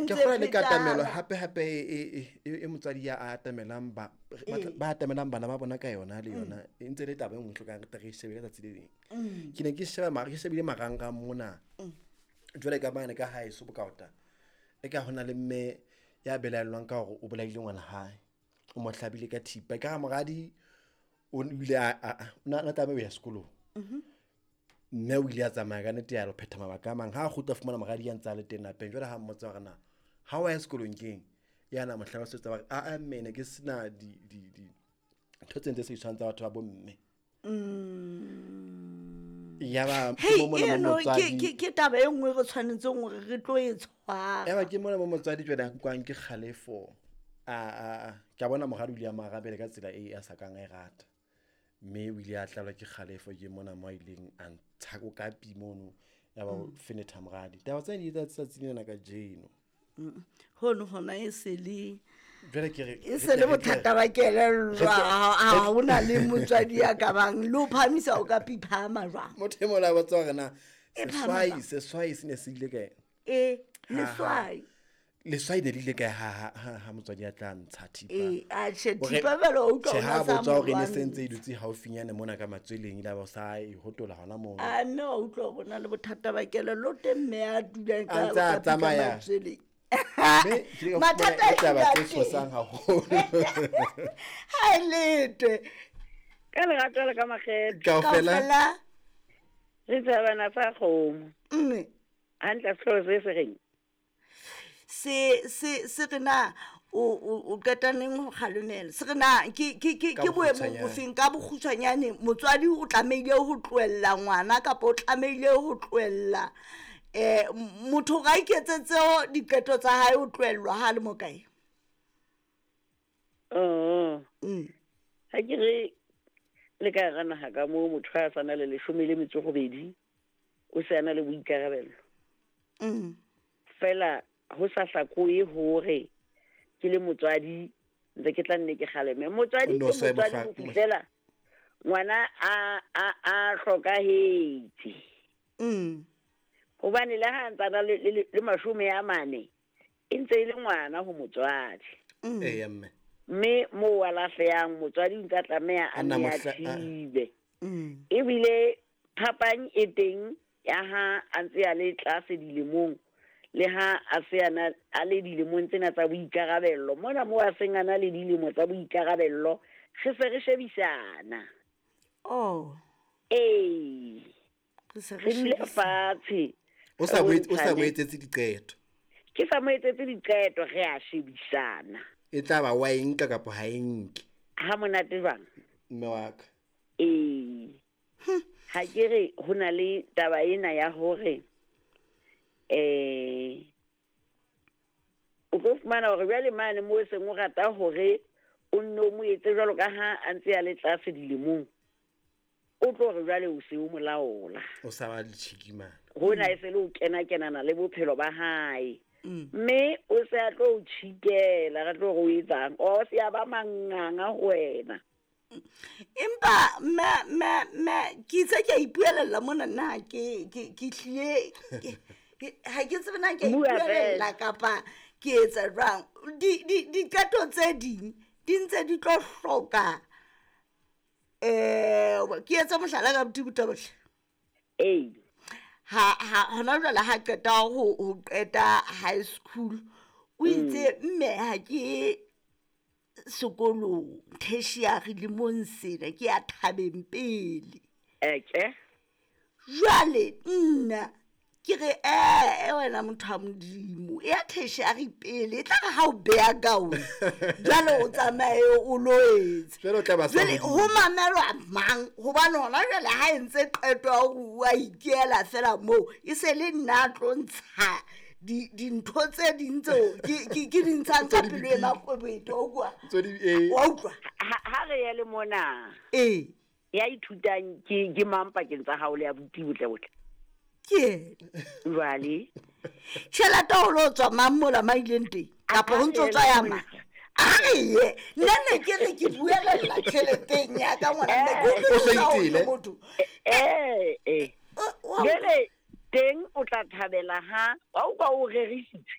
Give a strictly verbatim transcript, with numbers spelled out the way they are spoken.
ntse Ke kgolwa le katamelo phetana. hape hape e e e e motswadi ya a atamelang ba Ee. ba atamelang bana ba bona ka yona le yona e ntse le taba e nngwe hlokang re tle re e shebe ka tsatsi le leng. Ke ne ke sheba mara ke shebile marangrang mona. Jwale ka mane ka haeso Bokaota. E ka hona le mme ya belaellwang ka hore o bolaile ngwana hae. O mo hlabile ka thipa. Ka ha moradi o ile a a a- o na na tlameha ho ya sekolong. Mme o ile a tsamaya ka nnete ya lo phetha mabaka a mang. Ha a kgutla a fumana moradi ya ntse a le teng lapeng. Jwale ha mmotsa hore na ha wa ya sekolong keng? Ya na mo hlalosetsa hore a a mme ne ke sena di di di ntho tse ntse se tshwang tsa batho ba bo mme. Yaba ke Hei, mo mona mo eno ke motswadi ke ke taba e nngwe re tshwanetseng hore re tlo e tshwara. Yaba ke mona mo motswadi jwale a nkwang ke kgalefo. A a a ke a bona moradi o ile a mo arabela ka tsela e a sa kang a e rata. Mme o ile a tlelwa ke kgalefo ke mona mo a ileng a ntsha kokapi mono yaba o fenetha moradi. Taba tsena di etsa tsatsi lena kajeno. Hono hona e se le Jwale ke re e re se tle le re tle bothata ba kelello re tle- ha ha hona le motswadi ya ka bang le ho phahamisa o ka piphama jwang. Motho e mong a botsa hore na E phahama seswai jwang? seswai se ne se ile kae? E Ha, ha. leswai. Leswai ne le ile kae ha ha ha ha motswadi a tla ntsha thipa? E atjhe Hore- thipa jwale wa utlwa Tjhe, o ha na sa botsa hore e ne mo se ntse e lwantsha. dutse haufinyane mona ka matsweleng, ile ba o sa e hotola hona mono. A mme wa utlwa hore o na le bothata ba kelello o teng mme a dulang A ka ntse a ka pika tsamaya. matsweleng. Mme ke ile ka fumana Mathata e taba a tse teng. tshosang haholo. Ha e letwe. Ka lerato le ka makgethe. Kaofela. Kaofela. Re tsebana sa kgomo. Mme. Hantle sehlooho se se reng? Se se se re na o o o qeta neng ho kgalemela. Se re na ke ke ke Ka ke boemong bokgutshwanyane. bofeng ka bokgutshwanyane motswadi o tlamehile ho tlohella ngwana kapa o tlamehile ho tlohella eh motho ga iketsetse diqeto tsa hae o tlohellwa ha le mo kae? Oh. Mm. Ha ke re le ka hara naha ka moo motho ha a sa na le leshome le metso e robedi, o se a na le boikarabelo. Mm. Feela ho sa hlakohe hore ke le motswadi ntse ke tla nne ke kgaleme. Motswadi O no ke sa e motswadi mohla- ho fihlela ngwana a, a, a hlokahetse. Mm. Hobane le ha a ntse a na le, le, le mashome a mane, e ntse e le ngwana ho motswadi. Mm. Eya, mme. Mme moo a lahlehang motswadi o ntse a tlameha a A nna nne a mohla- a- thibe. Mm. Ebile phapang e teng ya ha a ntse a le tlase dilemong le ha a se a na a le dilemong tsena tsa boikarabello. Mona moo a seng a na le dilemo tsa boikarabello, re se re shebisana. Oh. Ee. Re se re Re dule shebisana. fatshe. O sa Re mo etse- o sa mo bontshane. etsetse diqeto. Ke sa mo etsetse diqeto, re a shebisana. E tla ba wa e nka kapa ha e nke. Ha monate jwang? Mme wa ka. Ee. Ha ke re ho na le taba ena ya hore, eh, o tlo fumana hore jwale mane moo e seng o rata hore o nne o mo etse jwalo ka ha a ntse a le tlase dilemong, o tlo re jwale o se o mo laola. O sa ba le tjhiki mane. Hona e se le ho kena-kenana le bophelo ba hae. Mm. Mme o se a tlo o tjhikela, re tlo re o etsang? O se a ba manganga ho wena. Empa mme, mme, mme, ke itse ke a ipuelella mona nna ke, ke, ke hlile, ke, ke, ha ke tsebe na ke a Bua ipuelella fela. kapa ke etsa jwang. Di, di, diqeto tse ding di ntse di tlo hloka, eh, ke etse mohlala ka abuti Botabohle. Ee. Ha, ha, hona jwale ha qeta ho, ho qeta high school, o itse mme ha ke sekolong tertiary lemong sena ke ya thabeng pele. Eke. Jwale nna ke re, eh, eh, wena motho wa Modimo, e ya tertiary pele, e tla re ha o beha kaone, jwale o tsamaye o lo etsa. Jwale o tla ba sa Jwale hodimo. ho mamelwa mang? Hobane hona jwale ha e ntse qeto ya hore o a ikela fela moo, e se le nna a tlo ntsha di-, dintho tse ding tseo ke, ke, ke di ntshang ka Tse di pelo e bipile. makgwebete, wa utlwa? Tse di, eh. Wa utlwa? Ha, ha re ye le mona. Ee. Ya ithutang ke, ke mang pakeng tsa hao le abuti botle botle? Ke yena. Jwale. Tjhelete ho lo tswa mang mola ma ileng teng? Kapa ho ntso tswa ya mang? A re ye. Nna ne ke re ke buelella tjheleteng ya ka ngwana mme ke O sa utlwisisa hore itele? motho. Eh, eh. O, wa Jwale teng o tla thabela ha wa utlwa o rerisitse.